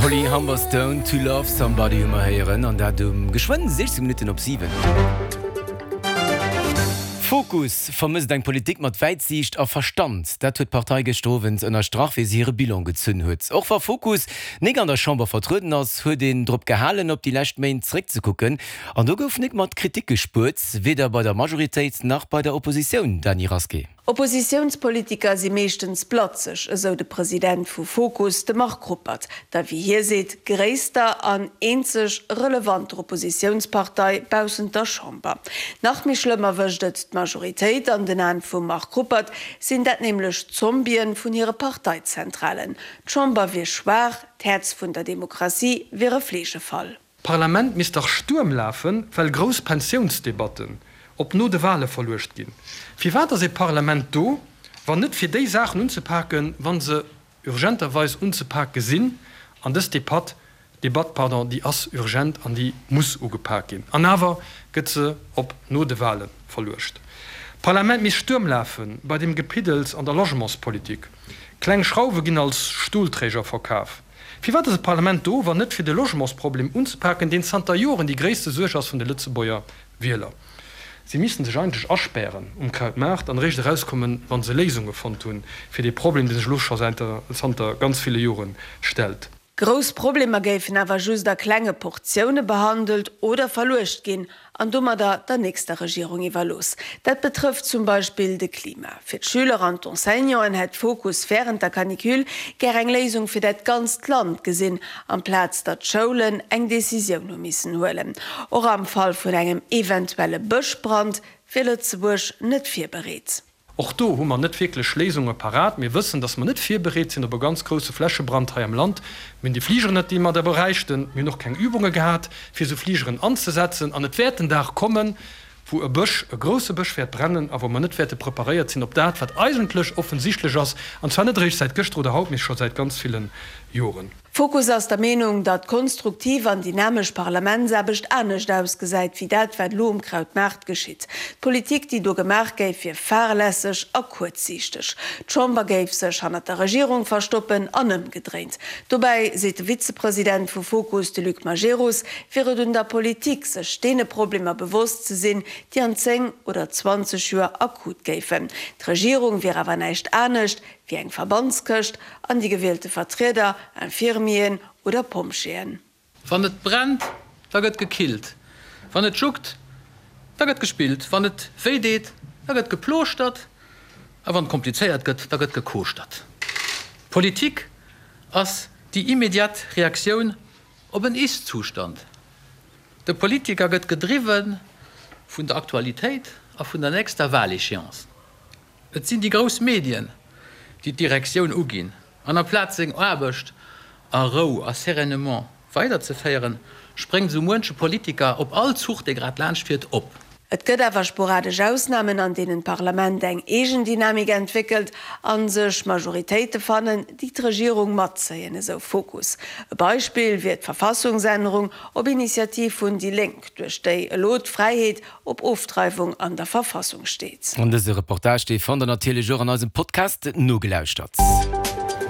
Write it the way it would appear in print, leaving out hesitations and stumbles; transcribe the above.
Holly Humberstone, To Love Somebody hu mer héieren, an dat um geschwënn 16 Minutten op 7. Fokus vermësst eng Politik mat Wäitsiicht a Verstand. Dat huet d'Partei gëschter Owend ënnerstrach, wéi se hire Bilan gezunn huet. Och wa Fokus nik an der Chamber vertrueden ass, huet een drop gehalen, op déi lescht Méint zeréckzekucken. An do gouf nik mat Kritik gespuert, weder bei der Majoritéit nach bei der Oppositioun, Dany Rasqué. Oppositiounspolitiker si meeschtens blatzeg, esou de President vu Fokus, de Marc Ruppert, der wéi hie seet gréisster an eenzeg relevanter Oppositiounspartei baussent der Chamber. Nach méi schlëmm erwëscht et d'Majoritéit. An den Aen vum Marc Ruppert sinn dat nämlech d'Zombien vun hire Parteizentralen. D'Chamber wier schwaach, d'Häerz vun der Demokratie wier e Fleegefall. D'Parlament misst dach Stuerm lafen, well grouss Pensiounsdebatten op no de Wale verluecht ginn. Firwat ass ee Parlament do, wann net fir déi Saachen unzepaken, wa se urgenterweis unzepake sinn? An dës Depatt, Debatt, pardon, déi ass urgent an déi muss ugepak ginn. An awer gëtt se op no de Wale verluecht. D'Parlament misst Stuerm lafe bei deem Gepiddels an der Logementspolitik. Kleng Schrauwe ginn als Stuhlträger verkaf. Firwat ass e Parlament do, wann net fir de Logementsproblem unzepaken, deen zanter Joren déi gréisste Suerg ass vun de Lëtzebuerger Wieler? Si missten sech eigentlech aspären um Krautmaart an eréischt erauskommen, wa se Léisunge fonnt hunn fir dee Problem, dee sech elo scho zanter ganz ville Jore stellt. Grouss Problemer géifen awer just a klenge Portioune behandelt oder verluecht ginn an domadder der nächster Regierung iwwerlooss. Dat betrëfft zum Beispill de Klima. Fir d'Schüler an d'Enseignanten hätt Fokus wärend der Canicule gär eng Léisung fir dat ganzt Land gesinn, amplaz datt d'Schoulen eng Decisioun hu missen huelen. Och am Fall vun engem eventuelle Bëschbrand wier Lëtzebuerg net virbereet. Och do hu mer net wierklech Léisunge parat. Mir wëssen, dass mer net virbereet sinn op e ganz grousse Flächebrand hei am Land. Mir hunn déi Fligeren net, déi mer da bräichten. Mir hunn och keng Übunge gehat, fir esou Fligeren anzesetzen. An et wäert den Dag kommen, wou e Bësch, e grousse Bësch wäert brennen a wou mer net wäerte preparéiert sinn op dat, wat eigentlech offensichtlech ass, an zwar net eréischt säit gëschter oder haut, mee scho säit ganz ville Joren. Fokus ass der Meenung, datt konstruktiv an dynamesch Parlamentsaarbecht anescht ausgesäit, wéi dat, wat elo um Krautmaart geschitt. D'Politik, déi do gemaach géif, wier fahrlässeg a kuerzsiichteg. D'Chamber géif sech hannert der Regierung verstoppen an ëmgedréint. Dobäi, seet de Vizepresident vu Fokus, de Luc Majerus, wier et un der Politik, sech deene Problemer bewosst ze sinn, déi an 10 oder 20 Joer akut géifen. D'Regierung wier awer näischt anescht, wéi eng Verbandskëscht an déi gewielte Vertrieder, Infirmieren oder Pompjeeën. Wann et brennt, da gëtt gekillt, wann et juckt, da gëtt gespillt, wann et wéi deet, da gëtt geplooschtert a wann et komplizéiert gëtt, da gëtt gekooschtert. Politik ass déi immediat Reaktioun op en Ist-Zustand. De Politiker gëtt gedriwwe vun der Aktualitéit a vun der nächster Wahléchéance. Et sinn déi grouss Medien, déi d'Direktioun uginn, an amplaz seng Aarbecht a Rou a sereinement weiderzeféieren, spréngt esou muenche Politiker op all Zuch, dee grad laanscht fiert, op. Et gëtt awer sporadesch Ausnamen, an deenen d'Parlament eng eegen Dynamik entwéckelt a sech Majoritéite fannen, déi d'Regierung matzéien, esou Fokus. E Beispill wier d'Verfassungsännerung op Initiativ vun déi Lénk, duerch déi elo d'Fräiheet op Ofdreiwung an der Verfassung steet. An dëse Reportage, dee fannt der natierlech och an eisem Podcast nogelauschtert.